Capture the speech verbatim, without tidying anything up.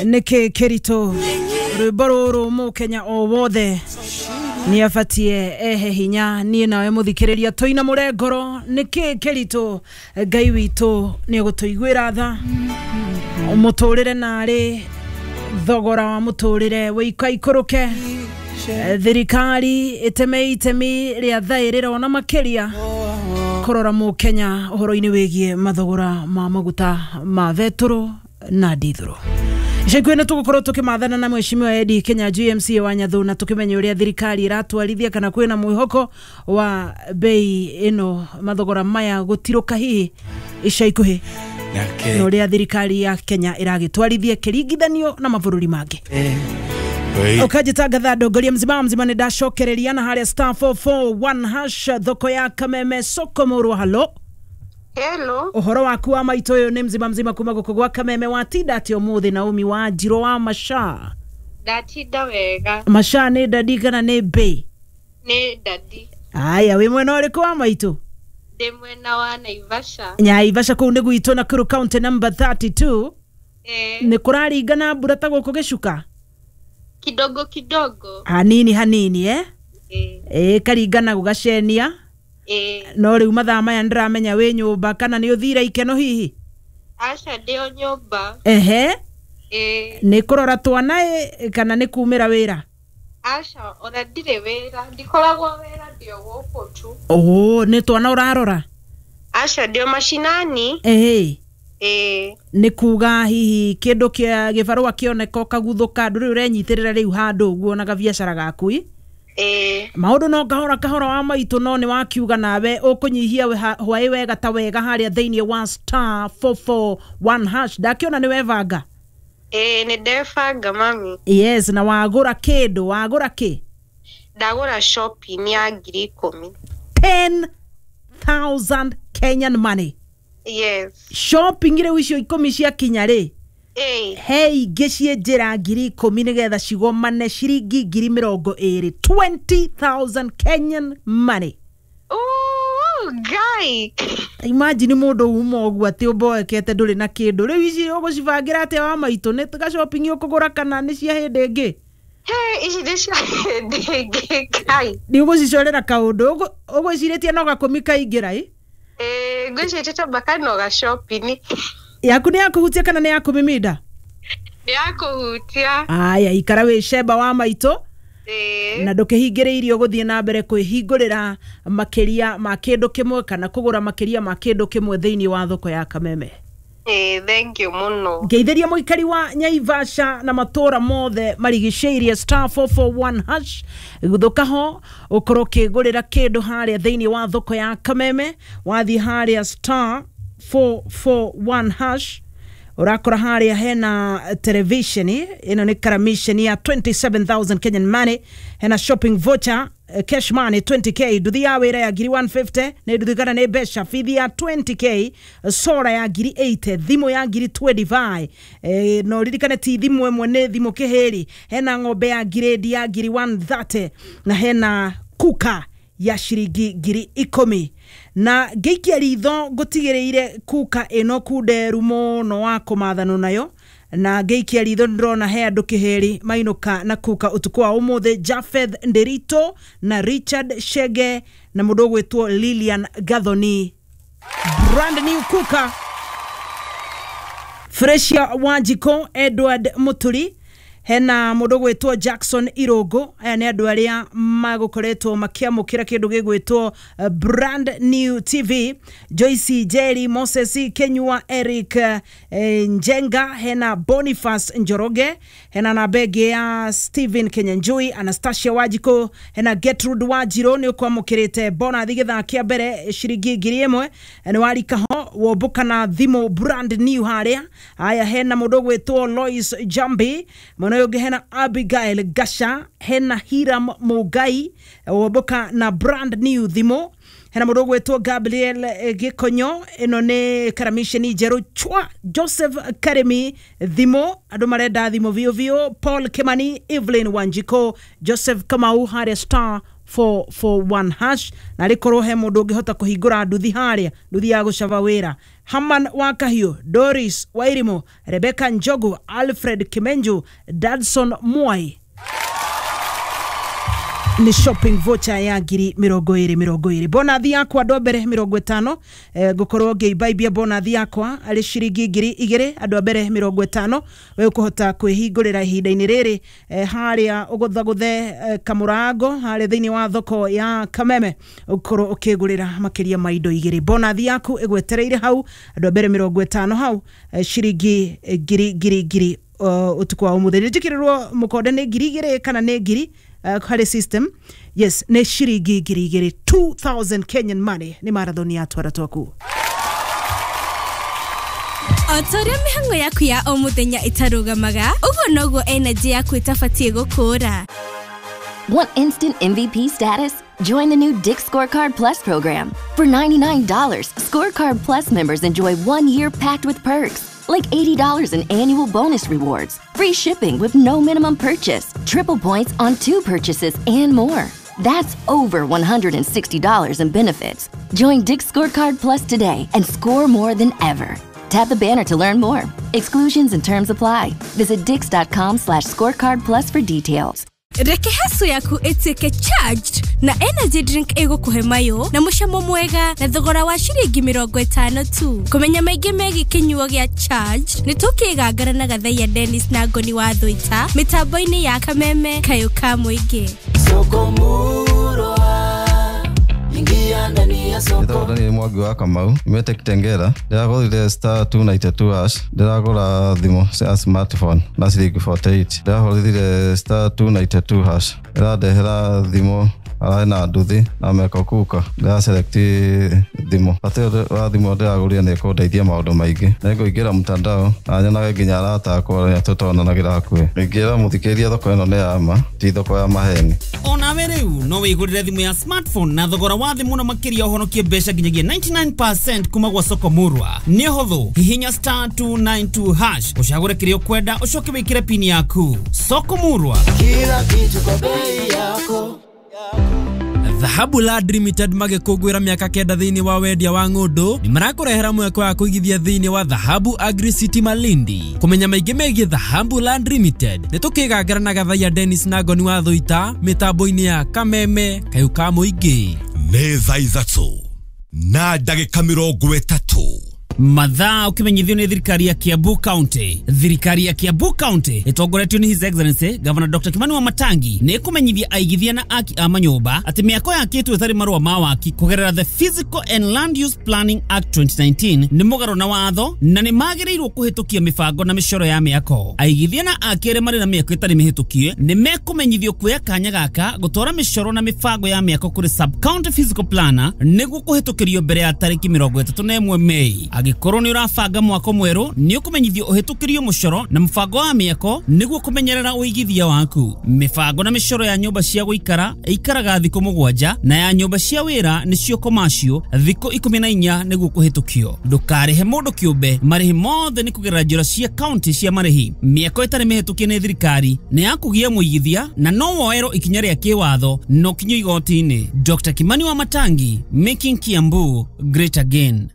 Nĩkĩ kĩritũ rwĩmbo rũrũ mũkenya o wothe nĩ abatie ehe hinya niĩ nawe mũthikĩrĩria tũina mũrengoro. Nĩkĩ kĩritũ? Ngai witũ nĩ egũtũiguĩra tha mũtũrĩre narĩ thogora wa mũtũrĩre wĩikaikũrũke, thirikari ĩteme itemi rĩa thaĩrĩra ona makĩria kũrora mũkenya ũhoro-inĩ wĩgiĩ mathogora ma maguta ma betũrũ na ndithũrũ. Ica ikuhĩ nĩ tũgũkorwo tũkĩmathana na mheshimiwa Eddie Kenya G M C wa Nyathu na tũkĩmenya ũrĩa thirikari ĩratwarithia kana kwĩna mwĩhoko wa bei ĩno mathogora maya gũtirũka hihi ica ikuhĩ na ũrĩa thirikari ya Kenya ĩragĩtwarithia kĩringithanio na mabũrũri mangĩ. Ukajitangatha ndongoria mzima mzima nĩ ndacokereria na harĩa star four four one hash thoko ya Kameme soko mũrwa. Halo. Hello. Ũhoro waku wa maitũ ũyũ nĩ mzima mzima kuma gũkũ gwa Kameme. Watinda atĩa ũmũthĩ Naomi wa Njirũ wa Masha? Ndatinda wega. Masha nĩ dadi kana nĩ mbĩ? Nĩ dadi. Aya, wĩ mwena ũrĩkũ wa maitũ? Ndĩ mwena wa Naivasha. Naivasha kũu nĩ gwitũ Nakuru county number thirty two. Eh. Nĩ kũraringana mbura ta gũkũ gĩcuka? Kidogo kidogo. Hanini hanini eh? Eh. Eh, karingana gũgacenia. Eh. No rĩu mathaa maya ndĩramenya wĩ nyũmba kana nĩ ũthire ikeno hihi? Aca ndĩ o nyũmba. Ehe. Eh. Nĩ kũrora twana ĩ kana nĩ kumĩra wĩra? Aca ona ndirĩ wĩra, ndikoragwo wĩra, ndĩ o gũkũ tu. Oh, nĩ twana ũrarora? Aca ndĩ o macinani. Ehe. Eh. Nĩ kuga hihi kĩndũ kĩa gĩbarũa kĩoneka ũkaguthũka, ndũrĩ ũrenyitĩrĩra rĩu handũ ũguo na gabiacara gaku ĩ? Eh. Maũndũ no kahora kahora wa maitũ, no nĩ wakiuga nawe ũkũnyihia hwaĩ wega ta wega harĩa thĩinĩ wa star four four one hash. Ndakĩona nĩ webanga. Eh, nĩ ndebanga mami. Yes, na wagũra kĩndũ, wagũra kĩ? Ndagũra shopping ya ngiri ikũmi. ten thousand Kenyan money. Yes. Shopping rĩu icio ikũmi ciakinya rĩ? Eh. He ingĩ ciĩ njĩra ngiri ikũmi nĩgetha cigomane ciringi ngiri mĩrongo ĩrĩ. twenty thousand Kenyan money. Oh, guy. Imagine mũndũ uma ũguo atĩ ũmboekete ndũrĩ na kĩndũ. Rĩu ici ũgũcibangĩra atĩa wa maitũ? Nĩ ga shopping ũkũgũra kana nĩ cia hĩndĩ ĩngĩ? Hey, ici nĩ cia hĩndĩ ĩngĩ, guy. Nĩ ũgũcicorera kaũndũ, ũgwĩcirĩtie no gakũmi kaingĩra ĩ? Eh, ngwĩcirĩtie tamba kano ga shopping. Yaku nĩ ya kũhutia kana nĩ ya kũmiminda? Nĩ ya kũhutia. Aya, ikara wĩ cemba wa maitũ. Eh. Na ndũkĩhingĩrĩirio gũthiĩ na mbere kwĩhingũrĩra makĩria ma kĩndũ kĩmwe kana kũgũra makĩria ma kĩndũ kĩmwe thĩinĩ wa thoko ya Kameme. Eh, thank you mũno. Ngeithĩria mũikari wa Nyaivasha na matũra mothe marigicĩirie star four four one hash. Gũthũka ho ũkorwo ũkĩgũrĩra kĩndũ harĩa thĩinĩ wa thoko ya Kameme. Wathiĩ harĩa star four four one hash ũrakora harĩa hena television ĩno nĩ karamisheni ya twenty seven thousand Kenyan money, hena shopping voucher cash money twenty K, nduthi ya wĩra ya ngiri one fifty nĩ nduthi kana nĩ mbeca, bithi ya twenty K, sora ya ngiri eighty, thimũ ya ngiri twenty five. Eh, no ririkane ti thimũ ĩmwe nĩ thimũ kĩhĩri, hena ng'ombe ya ngirĩndi ya ngiri one thirty na hena kuka ya ciringi ngiri ikũmi. Na ngĩikia ritho ngũtigĩrĩire kuka ĩno kunderu mũno wa kũmathanwo nayo, na ngĩikia ritho ndĩrona he andũ kĩhĩri mainũka na kuka ũtukũ wa ũmũthĩ, Japheth Nderito na Richard Shege na mũndũ ũgwĩtwo Lilian Gathoni. Brand new kuka. Freshia Wanjiko, Edward Muturi, hena mũndũ ũgwĩtwo Jackson Irogo. Aya nĩ andũ arĩa magũkoretwo makĩamũkĩra kĩndũ gĩgwĩtwo brand new T V. Joyce Jerry, Moses Kenyua, Eric eh, Njenga, hena Boniface Njoroge, hena namba ĩngĩ ya Stephen Kenyanjui, Anastasia Wajiko, hena Gertrude Wajiro nĩ ũkwamũkĩrĩte bonathi gĩthaa kĩa mbere ciringi ngiri ĩmwe, nĩ warika ho wombũka na thimũ brand new harĩa. Aya, hena mũndũ ũgwĩtwo Lois Jambi, mwena ũyũ ũngĩ hena Abigail Gasha, hena Hiram Mugai wombũka na brand new thimũ, hena mũndũ ũgwĩtwo Gabriel Gĩkonyo, ĩno nĩ karamisheni njerũ chwa, Joseph Karemi thimũ, andũ marenda thimũ biũ biũ, Paul Kimani, Evelyn Wanjiko, Joseph Kamau harĩa star four four one hash na rĩkorwo he mũndũ ũngĩhota kũhingũra nduthi harĩa, nduthi ya gũcaba wĩra. Haman wa Kahiũ, Doris Wairimu, Rebecca Njogu, Alfred Kimenju, Dadson Mwai. Ni shopping voucher ya ngiri mĩrongo ĩrĩ mĩrongo ĩrĩ. Bonathi yakwa andũ a mbere mĩrongo ĩtano, eh, ngũkorwo ngĩimbaibia bonathi yakwa arĩ ciringi ngiri igĩrĩ andũ a mbere mĩrongo ĩtano. We ũkũhota kwĩhingũrĩra ihinda-inĩ rĩrĩ, eh, harĩa ũgũthagũthe, eh, kamũrango harĩa thĩinĩ wa thoko ya Kameme, ũkorwo ũkĩgũrĩra makĩria ma indo igĩrĩ. Bonathi yaku ĩgwetereire hau andũ a mbere mĩrongo ĩtano hau, eh, ciringi ngiri ngiri ngiri, uh, ũtukũ wa ũmũthĩ. Njĩkĩrĩrwo mũkonde nĩ ngiri igĩrĩ kana nĩ ngiri, uh, harĩ system. Yes, nĩ ciringi ngiri igĩrĩ, two thousand Kenyan money. Nĩ marathon ya Twara Twaku. O ta ũrĩa mĩhang'o yaku ya o mũthenya ĩtarũgamaga, ũguo noguo energy yaku ĩtabatiĩ gũkũra. Want instant M V P status? Join the new Dick's Scorecard Plus program. For ninety-nine dollars, Scorecard Plus members enjoy one year packed with perks, like eighty dollars in annual bonus rewards, free shipping with no minimum purchase, triple points on two purchases, and more. That's over one hundred sixty dollars in benefits. Join Dick's Scorecard Plus today and score more than ever. Tap the banner to learn more. Exclusions and terms apply. Visit dicks.com slash scorecard plus for details. Reke haso yaku ĩtuĩke charged na energy drink ĩgũkũhe mayo na mũcamo mwega na thogora wa ciringi mĩrongo ĩtano tu. Kũmenya maingĩ megiĩ kĩnyuo gĩa charged nĩ tũkĩgangara na Gathaiya Dennis na Ngoni wa Thũita mĩtambo-inĩ ya Kameme kayũ ka mũingĩ. Soko murwa, ingia ndani ya soko. Ndĩragũra nĩ Mwangi wa Kamau, nyumĩte Kitengela. Ndĩragũrire star two ninety-two hash, ndĩragũra thimũ cia smartphone na ciringi forty-eight. Ndĩrahũrire star two ninety-two hash, ĩrandehera thimũ ararĩ na nduthi na meko kuka. Ndĩraselect thimũ. Bata ũyũ wa thimũ ndĩragũrire nĩ ĩkũndeithia maũndũ maingĩ. Nĩngũingĩra mtandao na nyonage nginya arata akwa arĩa tũtonanagĩra hakuhĩ. Ingĩra mũthikĩrĩria thoko ĩno nĩ ya ma, ti thoko ya maheni. Onawe rĩu no wĩgũrĩre thimũ ya smartphone na thogora wa thĩ mũno makĩria ũhonokie mbeca nginyagia ninety-nine percent kuma gwa Soko Murwa. Nĩ ũhũthũ, hihinya star two nine two hash ũcagũre kĩrĩa ũkwenda ũcoke wĩkĩre pin yaku. Soko Murwa, kila kitu kwa bei yako. Dhahabu Land Limited magĩkũngũĩra mĩaka kenda thĩinĩ wa wendia wa ng'ũndũ nĩ marakũrehera mweke wa kũigithia thĩinĩ wa Dhahabu Agri City Malindi. Kũmenya maingĩ megiĩ Dhahabu Land Limited nĩ tũkĩgangara na Gathaiya Dennis na Ngoni wa Thũita mĩtambo-inĩ ya Kameme kayũ ka mũingĩ. Nĩ thaa ithatũ na ndagĩka mĩrongo ĩtatũ. Mathaa ukimenyithio nĩ thirikari ya Kiambu County. Thirikari ya Kiambu County ĩtongoretio nĩ His Excellency Governor Doctor Kimani Wamatangi nĩ ĩkũmenyithia aigithia na aki a manyũmba atĩ mĩako yakĩtwo ĩtarĩ marũa ma waki kũgerera the Physical and Land Use Planning Act twenty nineteen nĩ mũgarũ na watho na nĩ magĩrĩirwo kũhĩtũkia mĩbango na mĩcoro ya mĩako. Aigithia na aki arĩa marĩ na mĩako ĩtarĩ mĩhĩtũkie nĩ mekũmenyithio kuoya kanya gaka gũtwara mĩcoro na mĩbango ya mĩako kũrĩ sub county physical planner nĩguo kũhĩtũkĩrio mbere ya tarĩki mĩrongo ĩtatũ na ĩmwe Mei. Angĩkorwo nĩ ũrabanga mwako mwerũ nĩ ũkũmenyithio ũhĩtũkĩrio mũcoro na mũbango wa mĩako nĩguo kũmenyerera ũigithia waku. Mĩbango na mĩcoro ya nyũmba cia gũikara ĩikaraga thikũ mũgwanja na ya nyũmba cia wĩra nĩcio commercial thikũ ikũmi na inya nĩguo kũhĩtũkio. Ndũkarĩhe mũndũ kĩũmbe, marĩhi mothe nĩ kũgerera njĩra cia county cia marĩhi. Mĩako ĩtarĩ mĩhĩtũkie nĩ thirikari nĩ ya kũgia mũigithia na no woerwo ikinya rĩa kĩwatho no kinyio igoti-inĩ. Doctor Kimani Wamatangi, making Kiambu great again.